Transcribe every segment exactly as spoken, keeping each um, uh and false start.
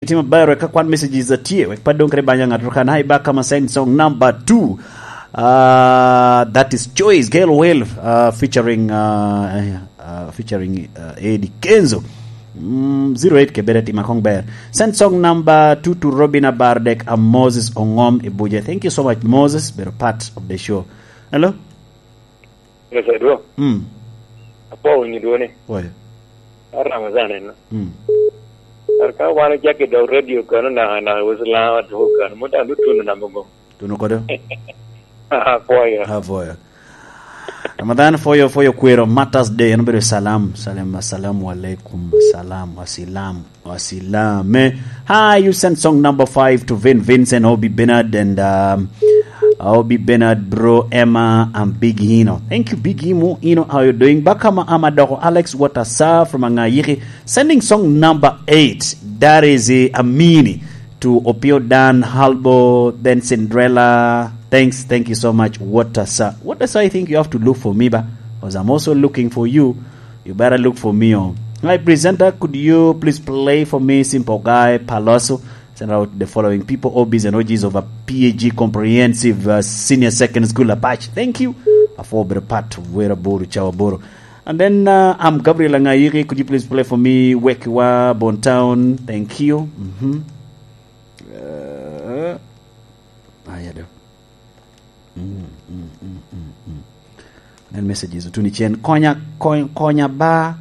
Itimo ber wek ka kwan messages atye, wek pa dong kede banya ŋat kan. Hi, back kama send song number two. Uh, that is Choice, Gail Will, uh, featuring, uh, uh, featuring, uh, Eddie Kenzo. Mm, zero eight ke bere tima kong ber. Send song number two to Robin Abardek and Moses Ongom Ibuje. Thank you so much, Moses. Bedo part of the show. Hello? Yes, I do. Mm. Apo winyo dwoni. Oye. Ar Ramazan en. Mm. Ar ka wan ojak i dog radio kano na, na Islam atuko kano. Muta lu tunu na mugo. Tunu kodo? Apoyo. Apoyo. Ramadan foyo, foyo kwero, Martyrs Day, en obedo salam, salam, assalamu alaikum, salam, asilam, asilame. Hi, you send song number five to Vin Vincent, Obi Bernard, and, um, Obi Bernard, bro, Emma, and Big Ino. Thank you, Big Imo, Ino, how you doing? Bakama Amadoko, Alex Watasa from Angayiki, sending song number eight. That is, uh, Amini to Opio Dan Halbo, then Cinderella. Thanks, thank you so much, Watasa. Watasa, I think you have to look for me, ba, 'cause I'm also looking for you. You better look for me, oh. My presenter, could you please play for me Simple Guy Paloso? Send out the following people, O Bs and O Gs of a P A G Comprehensive, uh, Senior Second School, Apache. Thank you. Afor bedo part of Wera Buru, Chawa Buru. And then, uh, I'm Gabriel Angayiki. Could you please play for me Wekiwa Bon Town? Thank you. Mm-hmm. Uh, ah, yeah, do. Mm, mm, mm, mm, mm. Nen messages otuni cen. Konya, konya, konya ba,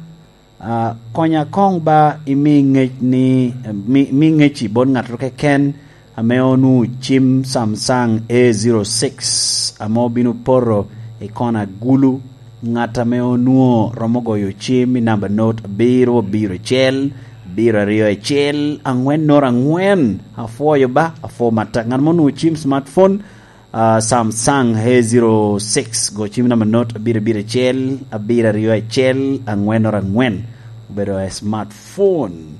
ah, konya kong ba imi ngec ni, mi, mi ngec i bon ngat keken ame onwoŋo cim Samsung A zero six ame obino poto i kona gulu. Ŋat ame onwoŋo romo goyo cim i namba not abiro, abiro acel, abiro aryo acel, angwen not angwen. Apwoyo ba, apwo matek. Ŋat ma onwoŋo cim smartphone, ah, Samsung A zero six, go cim namba not abiro, abiro acel, abiro aryo acel, angwen not angwen. Obedo a smartphone.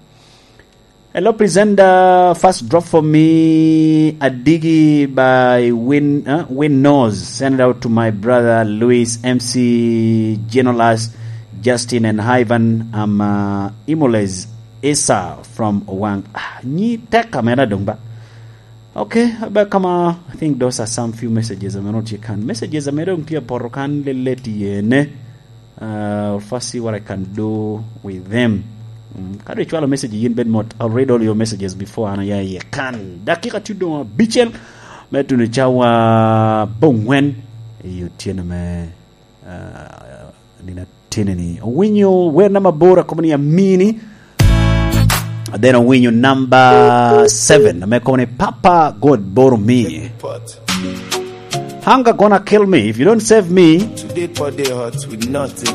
Hello, presenter. First drop for me, Adigi by Win, uh, Win Nose. Send it out to my brother Luis, M C Genolas, Justin, and Ivan. I'm, uh, Imoles Esa from Owang. Ah, nyi tek amera dong ba. Okay, about kama, I think those are some few messages ame onwoŋo tye kan. Messages ame dong tye apoto kan lelet yene. Uh, first see what I can do with them. Mm, ka dong icwalo message yin bed mot, I'll read all your messages before an aya iye kan. Dakika tye doŋ abicel me tuno cawa bongwen i otyeno me, uh, nino atinini. Owinyo wer namba aboro, akobo ni Amini. Then owinyo number seven, ame kobo ni Papa God Boro Me. Hunger gonna kill me if you don't save me. Today poor day hot with nothing.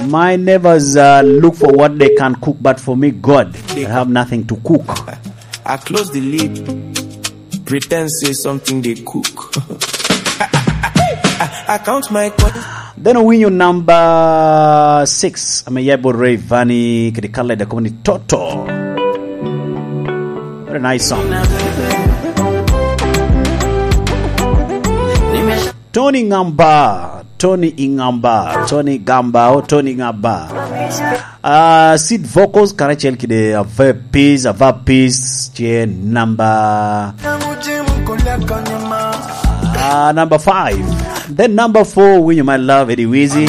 My neighbors, uh, look for what they can cook, but for me, God, I have nothing to cook. I close the lid, pretend say something they cook. I count my coins. Then owinyo number six, ame ya bot Rayvanny kede Khaled, akobo ni Toto. What a nice song. Tony Ngamba, Tony Ingamba, Tony Gamba, oh, Tony Ngamba. Uh, Seed Vocals, karacel kede Ava Peace, Ava Peace, tye number, uh, number five. Then number four, winyo My Love, Eddie Wizzy.